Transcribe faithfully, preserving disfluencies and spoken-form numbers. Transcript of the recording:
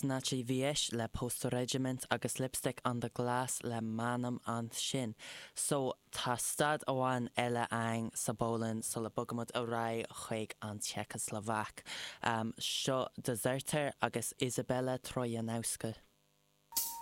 Znaczy Wieś le Postal Regiment agus Lipstick on the Glass le Manam ansin. So tá stad amháin eile againn sa bPolainn sula mbogaimid ar aghaidh chuig an tSeicaslavaic. Um, seo Dezerter agus Izabela Trojanowska.